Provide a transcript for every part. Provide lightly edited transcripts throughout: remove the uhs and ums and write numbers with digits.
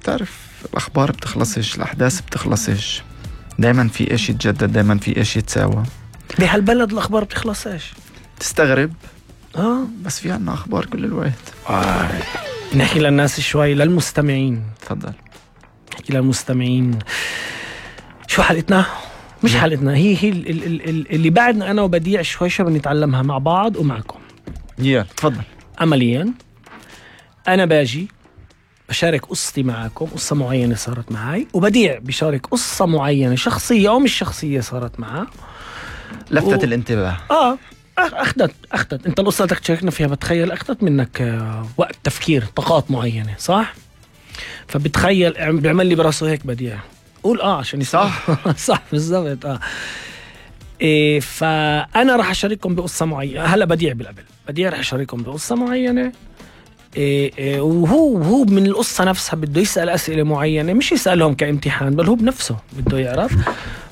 بتعرف الأخبار بتخلصش، الأحداث بتخلصش، دايما في إشي يتجدد، دايما في إشي يتساوى. بهالبلد الأخبار بتخلصش، تستغرب بس في عنا أخبار كل الوقت. نحكي للناس شوي، للمستمعين. تفضل. نحكي للمستمعين شو حلقتنا؟ مش حلقتنا، هي اللي بعدنا أنا وبديع شوي بنتعلمها مع بعض ومعكم. تفضل. عمليا أنا باجي بشارك قصتي معاكم، قصة معينة صارت معي، وبديع بشارك قصة معينة شخصية أو مش شخصية صارت معه. لفتت الانتباه. أخذت أنت القصة بدك تشاركنا فيها، بتخيل أخذت منك وقت تفكير، طاقات معينة، صح؟ فبتخيل بيعمل لي براسه هيك بديع، قول عشان صح. صح بالضبط. فأنا راح أشارككم بقصة معينة. هلا بديع راح أشارككم بقصة معينة، وهو من القصة نفسها بده يسأل أسئلة معينة، مش يسألهم كامتحان، بل هو بنفسه بده يعرف،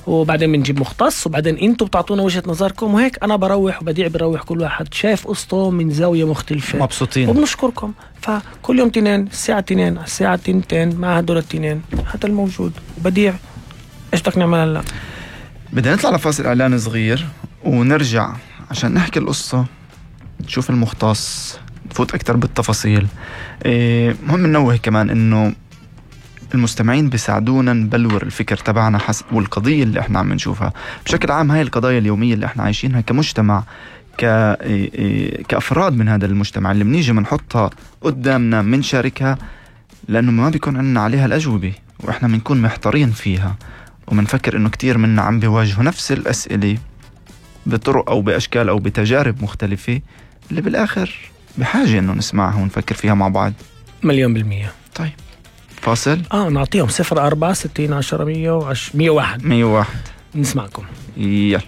وبعدين بنجيب مختص، وبعدين انتوا بتعطونا وجهة نظركم، وهيك أنا بروح وبديع بروح، كل واحد شايف قصته من زاوية مختلفة، مبسوطين وبنشكركم. فكل يوم 2 الساعة 2 الساعة 2 مع هدول 2 هذا الموجود. وبديع ايش بدك نعمل هلا؟ بدنا نطلع لفاصل إعلان صغير ونرجع عشان نحكي القصة، نشوف المختص، نفوت أكتر بالتفاصيل. مهم ننوه كمان إنه المستمعين بيساعدونا نبلور الفكر تبعنا حسب والقضية اللي احنا عم نشوفها بشكل عام. هاي القضايا اليومية اللي احنا عايشينها كمجتمع، كأفراد من هذا المجتمع، اللي بنيجي منحطها قدامنا منشاركها، لأنه ما بيكون عندنا عليها الأجوبة، وإحنا بنكون محتارين فيها، ومنفكر إنه كتير منا عم بيواجهوا نفس الأسئلة بطرق أو بأشكال أو بتجارب مختلفة، اللي بالآخر بحاجة إنه نسمعها ونفكر فيها مع بعض. 100%. طيب فاصل. نعطيهم 04 60 10 101 101. نسمعكم. يلا.